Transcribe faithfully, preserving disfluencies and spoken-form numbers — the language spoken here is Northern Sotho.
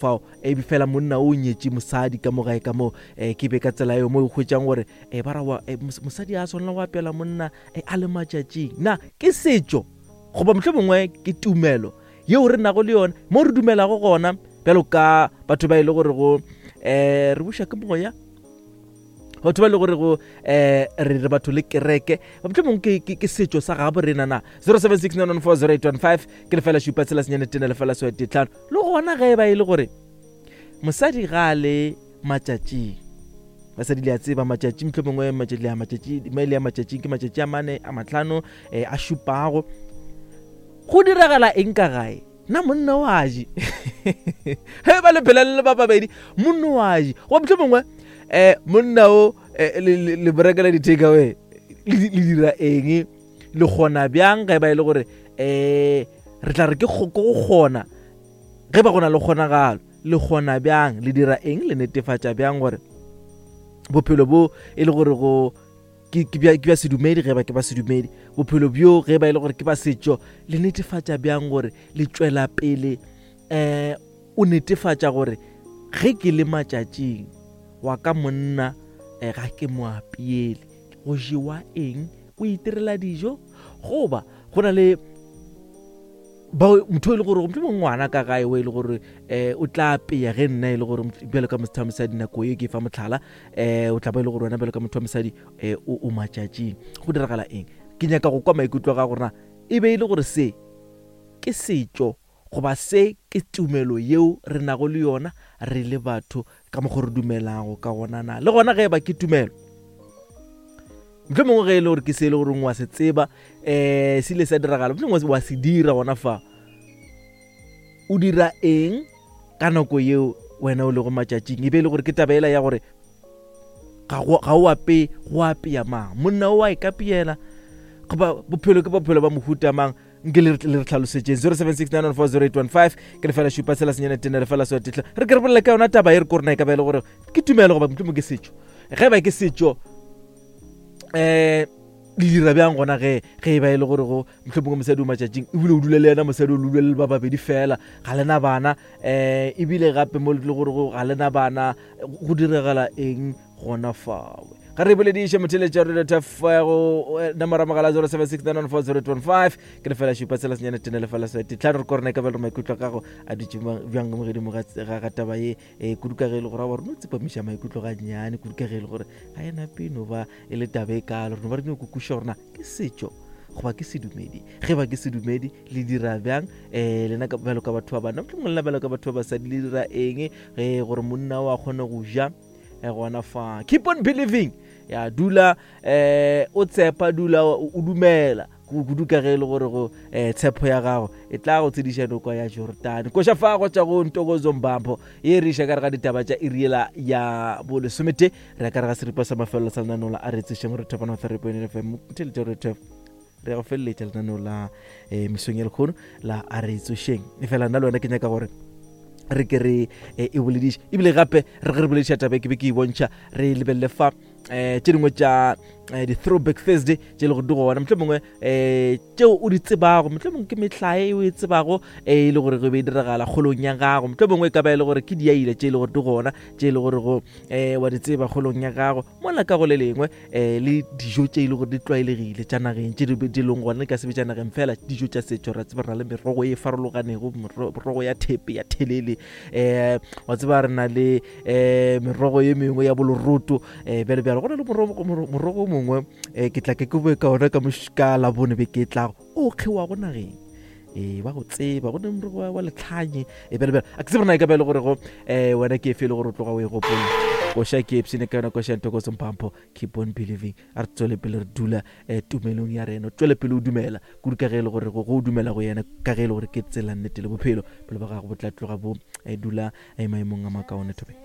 Fao e be fela monna o nyetše mosadi ka mo gae ka mo, um ke be ka tsela eo mo e hwetšang gore um ba ra wa mosadi a swanela go apela monna a le matšatšing. Na ke setšo goba mohlomongwe ke tumelo yeo re nago le yona mo re dumelago gona bjalo ka batho ba e le gore go um re buša ke moya, batho ba e le gore go um re re batho le kereke, mohlomongwe ke, ke, ke setšo sa gabo rena. Na zero seven six nine one four zero eight one five ke lefela šupa tshela senyane tene lefela swa tlhano. Le gona ge e ba e le gore mosadi ga a le matšatšing, basadi le a tseba matšatši, mohlomongwe matšatši le a matšatši maele a matšatšing ke matšatši a mane a matlhano um a šupago, go diragala eng ka gae? Na monna o a je ge ba le phela le le ba babedi, monna o a je goba mohlomongwe um monna o le berekela di-take away, le dira eng, le kgona bjang ge ba e le gore um re tla re ke go kgona ge ba go na le kgonagalo, le kgona bjang, le dira eng, le netefatša bjang gore bophelo bo e le gore go ke bja ke bja sedumedi ge ba ke ba sedumedi, bophelo bjo ge ba e le gore ke ba setšo, le netefatša bjang gore le tšwela pele um o netefatša gore ge ke le matšatšing wa ka monna um ga ke mo apeele, go jewa eng, o itirela dijo, goba go na le ba motho e le gore mohlomongwe ngwana ka gae o e le gore um o tla apeya ge nna e le gore bjalo ka motho wa mosadi nako ye ke fa mohlala, um o tla ba e le gore wena bjalo ka motho wa mosadi um o matšatšing, go diragala eng? Ke nyaka go kwa maikutlo a gago gore na e be e le gore se ke setšo goba se ke tumelo yeo re nago le yona re le batho ka mokgwa re dumelago ka gona. Na le gona ge e ba ke tumelo, mohlomongwe ge e le gore ke se e le gore wa se tseba um se ile sa diragala, mohlomongwe wa se dira gona fa, o dira eng ka nako yeo wena o lego matšatšing? E be e le gore ke taba ela ya gore ga o apee, go apea mang, monna o a e kapeela, goba bophelo ke bophelo ba mohuta mang? Nke le re tlhalosetšeng. Zero seven six nine one four zero eight one five ke lefela šupa tshela senyane tene lefela swa tetla. Re ke re bolele ka yona taba e re ko rena e ka ba e le gore ke tumelo goba mohlomongwe ke setšo. Ge ba ke setšo um le dira bjang gona ge ge e ba e le gore go mohlomongwe mosadi o matšatšing ebile o dula le yena mosadi o le dula le ba babedi fela, ga lena bana, um ebile gape mo le gore go ga lena bana, go diragala eng gona fawe? Ga re bolediše motheletša radio go nomoro mogala zero seven six nine one four zero eight one five ke lefela šupa tshela senyane tene lefela swa tlhano. Re ko rena e ka ba le maikutlo a gago a dutše bjang mo godimo ga taba ye um kudu ka ge e le gore a wa rena o tsepamiša maikutlo ga nnyane, kudu ka ge e le gore ga e nape no ba e le taba e kalo. Re no ba re nyako kwešiša gore na ke setšo goba ke sedumedi. Ge ba ke sedumedi, le dira bjang um lena bjalo ka batho ba banna, mohlomongwe lena bjalo ka batho ba basadi, le dira eng ge gore monna o a kgone go ja gona fa? Keep on believing, ya dula um o tshepa, dula o dumela kudu ka ge e le gore go um tshepo ya gago e tla go tsediša noko ya Jordan. Koša fa go tša go Ntokozo Mbambo ye re iša ka re ga ditaba tša iriela ya bolesomete, re ya ka re ga seripa sa mafelelo sa lenaneo la a re tsošeng re thopana three point nine F M motheletša re re go feleletša lenaneo la um mesong ya lekgono la a re tsošeng. E fela nna le wena ke nyaka gore re ke re e bolediše, ebile gape re ge re bolediša taba ke be ke e bontšha, re lebelele fa um tše dingwe tša di-throwback Thursday tše le gore di gona, mohlomongwe um tšeo o di tsebago, mohlomongwe ke mehlae o e tsebago e le gore go be e diragala kgolong ya gago, mohlomongwe e ka ba e le gore ke diaile tše e le gore di gona tše e le gore go um wa di tseba kgolong ya gago, mola ka go le lengwe um le dijo tše e le gore di tlwaelegile tša nageng tše di leng gona, ka se be tša nageng fela, dijo tša setšo. Ra tseba re na le merogo e farologanego, merogo ya thepe ya thelele, um wa tseba re na le um merogo ye mengwe ya boloroto um bjalo bjalo. Go na le morogo o mongwe um ke tla ke ke boe ka ona ka labone beke e tlago o kgewago nageng, ee ba go tseba go ne morogo wa letlhanye e bjalo bjalo. A ke tsebe rena e ka ba e le gore go um wena ke efe e le gore o tloga o e gopola. Koša ke epsene ka yona koša Ntokozo Mpampo, keep on believing. A re tswele pele re dula um tumelong ya rena, tswele pele o dumela kudu ka ge e le gore go o dumela go yena, ka ge e le gore ke tsela nnete le bophelo, bophelo ba gago bo tla tloga bo dula maemong a makaone. Thobeng.